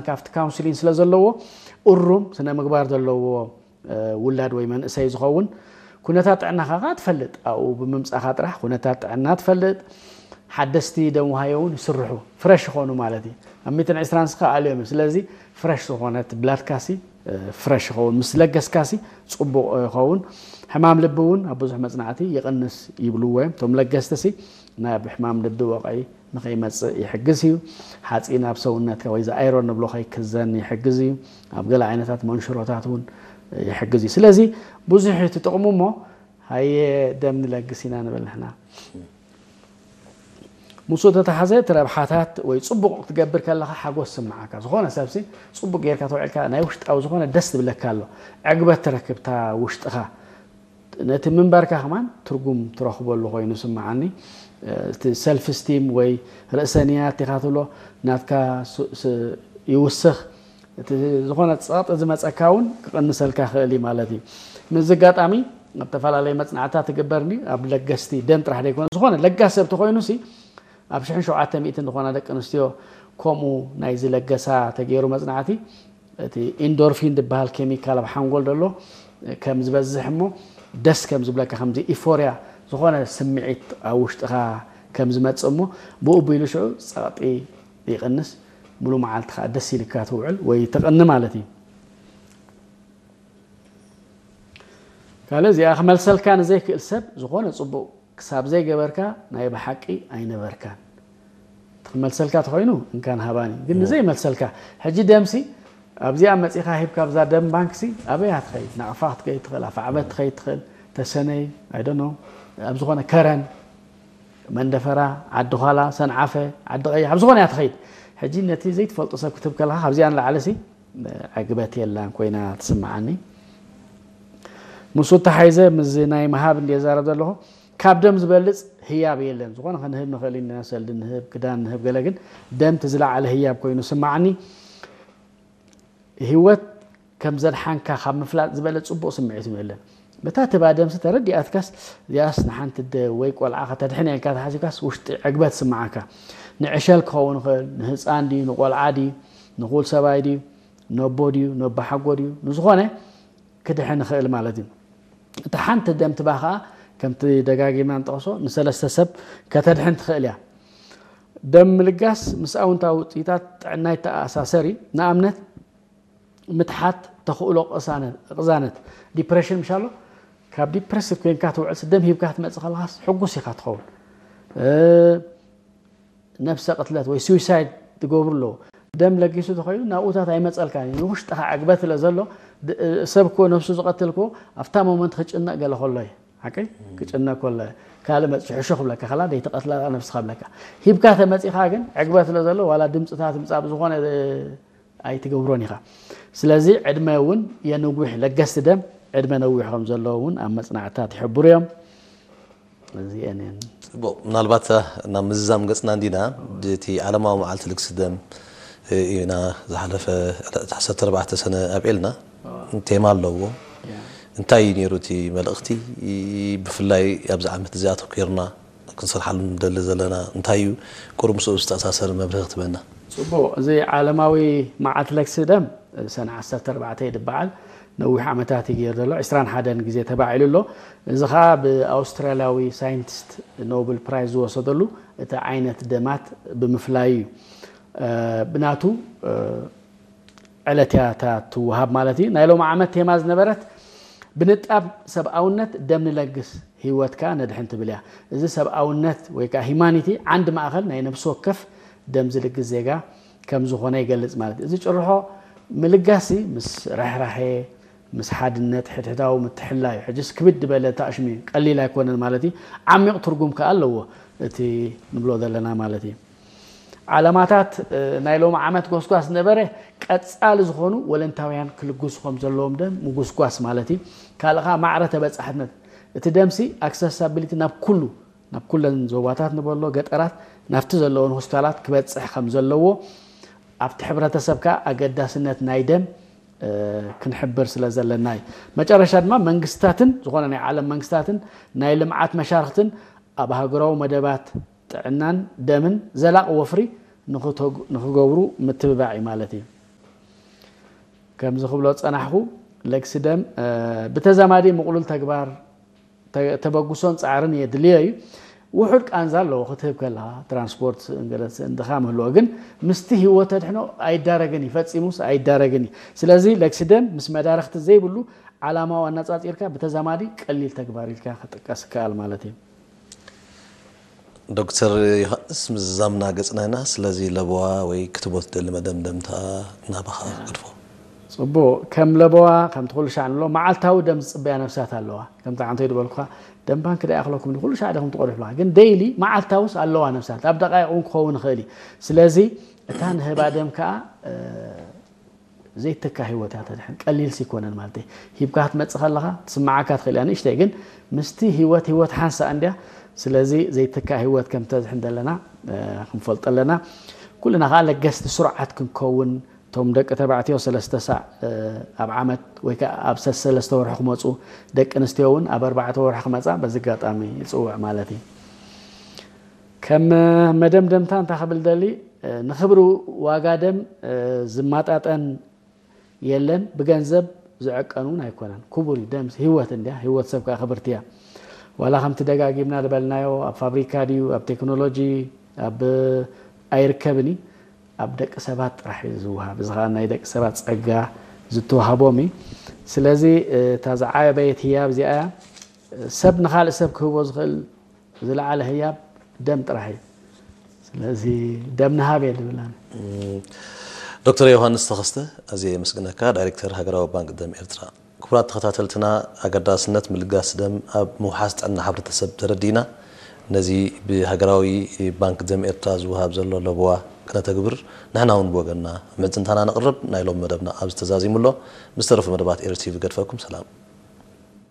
ካፍቲ ካውንስሊን ስለ ዘለዎ እሩም ስነ ምግባር ዘለዎ ውላድ ወይ መንእሰይ ዝኸውን ኩነታት ጥዕናኻ ከዓ ትፈልጥ። ኣብኡ ብምምፃኻ ጥራሕ ኩነታት ጥዕና ትፈልጥ። ሓደስቲ ደም ውሃዮ እውን ይስርሑ፣ ፍረሽ ይኾኑ ማለት እዩ። ኣብ ሚትን ዕስራን ስኻ ኣልዮም እዩ። ስለዚ ፍረሽ ዝኾነት ብላድካሲ ፍረሽ ይኸውን፣ ምስ ለገስካሲ ፅቡቕ ይኸውን። ሕማም ልቢ እውን ኣብ ብዙሕ መፅናዕቲ ይቕንስ ይብልዎ እዮም እቶም ለገስቲ ሲ። ናብ ሕማም ልቢ ወቕዒ ንኸይመፅእ ይሕግዝ እዩ። ሓፂን ኣብ ሰውነትካ ወይ ዝኣይሮን ንብሎ ከይክዘን ይሕግዝ እዩ። ኣብ ገለ ዓይነታት መንሽሮታት እውን ይሕግዝ እዩ። ስለዚ ብዙሕ እዩ እቲ ጥቕሙ እሞ ሃየ ደም ንለግስ ኢና ንብል ንሕና። ምስኡ ተተሓዘ እቲ ረብሓታት ወይ ፅቡቕ ክትገብር ከለኻ ሓጎስ ስምዓካ። ዝኾነ ሰብሲ ፅቡቕ ጌርካ ተውዕልካ ናይ ውሽጣዊ ዝኾነ ደስ ዝብለካ ኣሎ። ዕግበት ትረክብታ ውሽጥኻ ነቲ ምንባርካ ከማን ትርጉም ትረኽበሉ ኮይኑ ስምዓኒ። እቲ ሰልፍ ስቲም ወይ ርእሰንያት ኢኻ ትብሎ ናትካ ይውስኽ። እቲ ዝኾነ ፀቕጢ ዝመፀካ እውን ክቕንሰልካ ክእል እዩ ማለት እዩ። ምስዚ ኣጋጣሚ ኣብ ተፈላለየ መፅናዕትታት ትግበርኒ ኣብ ለገስቲ ደም ጥራሕ ዘይኮነ ዝኾነ ለጋስ ሰብ ተኮይኑ ሲ ኣብ ሽሕን ሸውዓተ ሚእትን ዝኾና ደቂ ኣንስትዮ ከምኡ ናይ ዝለገሳ ተገይሩ መፅናዕቲ እቲ ኢንዶርፊን ዝበሃል ኬሚካል ኣብ ሓንጎል ዘሎ ከም ዝበዝሕ እሞ ደስ ከም ዝብለካ ከምዚ ኢፎርያ ዝኾነ ስምዒት ኣብ ውሽጥኻ ከም ዝመፅእ እሞ ብኡ ቢሉ ሽዑ ፀቕጢ ይቕንስ፣ ሙሉ መዓልቲ ከዓ ደስ ኢልካ ትውዕል ወይ ትቕኒ ማለት እዩ። ካልእ እዚኣ ክመልሰልካ ንዘይክእል ሰብ ዝኾነ ፅቡቕ ክሳብ ዘይገበርካ ናይ ብሓቂ ኣይነበርካን። ክመልሰልካ ተኮይኑ እንካን ሃባኒ ግን ንዘይመልሰልካ ሕጂ ደምሲ ኣብዚኣ መፂኻ ሂብካ ኣብዛ ደም ባንክሲ ኣበይ ትኸይድ ናቕፋ ክትከይድ ትኽእል ኣፋዕበት ትኸይድ ትኽእል ተሰነይ ኣይደኖ ኣብ ዝኾነ ከረን መንደፈራ ዓዲ ዃላ ሰንዓፈ ዓዲ ቀይሕ ኣብ ዝኾነ እያ ትኸይድ። ሕጂ ነቲ ዘይትፈልጦ ሰብ ክትብ ከለካ ካብዚኣ ንላዕለሲ ዕግበት የላን ኮይና ትስምዓኒ። ምስ ተሓይዘ ምስ ናይ ምሃብ እንደ ዛረብ ዘለኹ ካብ ደም ዝበልፅ ህያብ የለን። ዝኾነ ክንህብ ንኽእል ኢና፣ ሰልዲ ንህብ፣ ክዳን ንህብ፣ ገለ ግን ደም እቲ ዝለዓለ ህያብ ኮይኑ ስምዓኒ። ህይወት ከም ዘድሓንካ ካብ ምፍላጥ ዝበለ ፅቡቕ ስምዒት የለን። በታ ትባ ደምሲ ተረዲኣትካስ እዚኣስ ንሓንቲ ደ ወይ ቆልዓ ከተድሕን ኢልካ ተሓሲብካስ ውሽጢ ዕግበት ስምዓካ። ንዕሸል ክኸውን ይኽእል፣ ንህፃን ድዩ፣ ንቆልዓ ድዩ፣ ንኹል ሰብኣይ ድዩ፣ ነቦ ድዩ፣ ነቦ ሓጎ ድዩ፣ ንዝኾነ ክድሕን ይኽእል ማለት እዩ። እቲ ሓንቲ ደም ትባ ከዓ ከምቲ ደጋጊምና ንጠቕሶ ንሰለስተ ሰብ ከተድሕን ትኽእል እያ። ደም ምልጋስ ምስ ኣውንታዊ ውፅኢታት ጥዕና ይተኣሳሰር እዩ። ንኣብነት ምትሓት ተኽእሎ ቅሳነት፣ ቅዛነት፣ ዲፕሬሽን ምሻሎ ካብ ዲፕሬስድ ኮይንካ ትውዕል ደም ሂብካ ክትመፅእ ከለኻስ ሕጉስ ኢኻ ትኸውን። ነብሰ ቅትለት ወይ ስዊሳይድ ትገብሩ ኣለዉ። ደም ለጊሱ ተኸይኑ ናብኡታት ኣይመፀልካን እዩ። ንውሽጥኻ ዕግበት ስለ ዘሎ ሰብ እኮ ነብሱ ዝቐትል እኮ ኣብታ ሞመንት ክጭነቕ ገለ ከሎ እዩ። ሓቀይ ክጭነቕ ከሎ ካልእ መፅሑ ሕሾ ክብለካ ከላ ደይተቐትላ ነብስኻ ብለካ ሂብካ ተመፂኻ ግን ዕግበት ስለ ዘሎ ዋላ ድምፅታት ምፃእ ብዝኾነ ኣይትገብሮን ኢኻ። ስለዚ ዕድመ እውን የንዊሕ ለገስቲ ደም ዕድመ ነዊሕ ከም ዘለዎ እውን ኣብ መፅናዕትታት ይሕብሩ እዮም። እዚአን እየን። ጽቡቕ፣ ምናልባት ናብ ምዝዛም ገጽና እንዲና፣ እቲ ዓለማዊ መዓልቲ ልግሲ ደም ኢና ዝሓለፈ ዕለት ዓሰርተ ኣርባዕተ ሰነ ኣብዒልና። ቴማ ኣለዎ። እንታይ እዩ ነይሩ እቲ መልእኽቲ? ብፍላይ ኣብዚ ዓመት እዚ ኣተኲርና ክንሰርሓሉ ንደሊ ዘለና እንታይ እዩ? ቁሩብ ምስኡ ዝተኣሳሰር መብርሂ ክትበና። ጽቡቕ፣ እዚ ዓለማዊ መዓልቲ ለግሲ ደም ሰነ ዓሰርተ ኣርባዕተ እዩ ዝበዓል። ነዊሕ ዓመታት እዩ ገይሩ ዘሎ፣ ዕስራን ሓደን ግዜ ተባዒሉ ኣሎ። እዚ ኸዓ ብኣውስትራልያዊ ሳይንቲስት ኖብል ፕራይዝ ዝወሰደሉ እቲ ዓይነት ደማት ብምፍላዩ እዩ። ብናቱ ዕለት እያ እታ ትወሃብ ማለት እዩ። ናይ ሎሚ ዓመት ቴማ ዝነበረት ብንጣብ ሰብኣውነት ደም ንለግስ ህይወት ከኣ ነድሕን ትብል እያ። እዚ ሰብኣውነት ወይ ከኣ ሂማኒቲ ዓንዲ ማእኸል ናይ ነብሲ ወከፍ ደም ዝልግስ ዜጋ ከም ዝኾነ ይገልጽ ማለት እዩ። እዚ ጭርሖ ምልጋሲ ምስ ርሕራሄ፣ ምስ ሓድነት፣ ሕድሕዳዊ ምትሕልላይ እዩ። ሕጅስ ክብድ ዝበለ ተኣሽሚ ቀሊል ኣይኮነን ማለት እዩ። ዓሚቕ ትርጉም ከኣ ኣለዎ እቲ ንብሎ ዘለና ማለት እዩ። ዓለማታት ናይ ሎሚ ዓመት ጎስጓስ ዝነበረ ቀጻሊ ዝኾኑ ወለንታውያን ክልግሱ ከም ዘለዎም ደም ምጉስጓስ ማለት እዩ። ካልእ ከኣ ማዕረ ተበጻሕነት እቲ ደምሲ ኣክሰሳቢሊቲ ናብ ኩሉ ናብ ኩለን ዞባታት ንበሎ ገጠራት ናብቲ ዘለዎን ሆስፒታላት ክበጽሕ ከም ዘለዎ ኣብቲ ሕብረተሰብ ከኣ ኣገዳስነት ናይ ደም ክንሕብር ስለ ዘለና እዩ። መጨረሻ ድማ መንግስታትን ዝኾነ ናይ ዓለም መንግስታትን ናይ ልምዓት መሻርክትን ኣብ ሃገራዊ መደባት ጥዕናን ደምን ዘላቕ ወፍሪ ንኽገብሩ ምትብባዕ እዩ ማለት እዩ። ከምዚ ክብሎ ጸናሕኩ፣ ለግሲ ደም ብተዛማዲ ምቕሉል ተግባር ተበግሶን ጻዕርን የድልዮ እዩ። ውሑድ ቃንዛ ኣለዎ ክትህብ ከለኻ፣ ትራንስፖርት እንገለስ እንድኻ ምህልዎ፣ ግን ምስቲ ህይወት ተድሕኖ ኣይዳረግን እዩ፣ ፈጺሙስ ኣይዳረግን እዩ። ስለዚ ለግሲ ደም ምስ መዳርኽቲ ዘይብሉ ዓላማዊ ኣነጻጺርካ ብተዛማዲ ቀሊል ተግባር ኢልካ ክጥቀስ ይከኣል ማለት እዩ። ዶክተር ዮሃንስ፣ ምዝዛምና ገጽና ኢና። ስለዚ ለበዋ ወይ ክትቦ ትደሊ መደምደምታ ናባኻ ገድፎ። ጽቡቕ። ከም ለበዋ ከምቲ ኩሉ ሻዕ ንሎ መዓልታዊ ደም ዝጽበያ ነፍሳት ኣለዋ። ከምቲ ዓንተይ ዝበልኩኻ ደም ባንክ ዳ ይኣኽለኩም ኩሉ ሻዕ ደኹም ትቐድሑ ኣለዋ። ግን ደይሊ መዓልታውስ ኣለዋ ነፍሳት። ኣብ ደቃይቕ እውን ክኸውን ይኽእል እዩ። ስለዚ እታ ንህባ ደም ከኣ ዘይተካ ህይወት እያ ተድሕን። ቀሊል ሲኮነን ማለት ሂብካ ክትመጽእ ከለኻ ትስምዓካ ትኽእል እያ ንእሽተይ፣ ግን ምስቲ ህይወት ህይወት ሓንሳ እንድያ። ስለዚ ዘይተካ ህይወት ከም ተድሕን ዘለና ክንፈልጦ ኣለና። ኩልና ከዓ ለገስቲ ስሩዓት ክንከውን፣ እቶም ደቂ ተባዕትዮ ሰለስተ ሳዕ ኣብ ዓመት ወይ ከዓ ኣብ ሰለስተ ወርሒ ክመፁ፣ ደቂ ኣንስትዮ እውን ኣብ ኣርባዕተ ወርሒ ክመፃ በዚ ኣጋጣሚ ይፅውዕ ማለት እዩ። ከም መደምደምታ እንታይ ክብል ደሊ፣ ንክብሪ ዋጋ ደም ዝማጣጠን የለን፣ ብገንዘብ ዝዕቀን እውን ኣይኮነን። ክቡር እዩ ደም፣ ህይወት እንድያ፣ ህይወት ሰብ ከዓ ክብርቲ እያ። ዋላ ከምቲ ደጋጊምና ዝበልናዮ ኣብ ፋብሪካ ድዩ ኣብ ቴክኖሎጂ ኣብ ኣይርከብን እዩ፣ ኣብ ደቂ ሰባት ጥራሕ እዩ ዝወሃብ። እዚ ከዓ ናይ ደቂ ሰባት ፀጋ ዝተዋህቦም እዩ። ስለዚ እታ ዝዓበየት ህያብ እዚኣ እያ። ሰብ ንካልእ ሰብ ክህቦ ዝኽእል ዝለዓለ ህያብ ደም ጥራሕ እዩ። ስለዚ ደም ንሃብ እየ ዝብል ኣነ። ዶክተር ዮሃንስ ተኸስተ፣ ኣዝየ የመስግነካ፣ ዳይሬክተር ሃገራዊ ባንክ ደም ኤርትራ። ክቡራት ተኸታተልትና፣ ኣገዳስነት ምልጋስ ደም ኣብ ምውሓስ ጥዕና ሕብረተሰብ ተረዲእና፣ ነዚ ብሃገራዊ ባንክ ደም ኤርትራ ዝወሃብ ዘሎ ለበዋ ክነተግብር ንሕና እውን ብወገንና ምዕድንታና ነቕርብ። ናይ ሎሚ መደብና ኣብዚ ተዛዚሙ ኣሎ። ምስ ተረፉ መደባት ኤሪ ቲቪ ገድፈኩም ሰላም።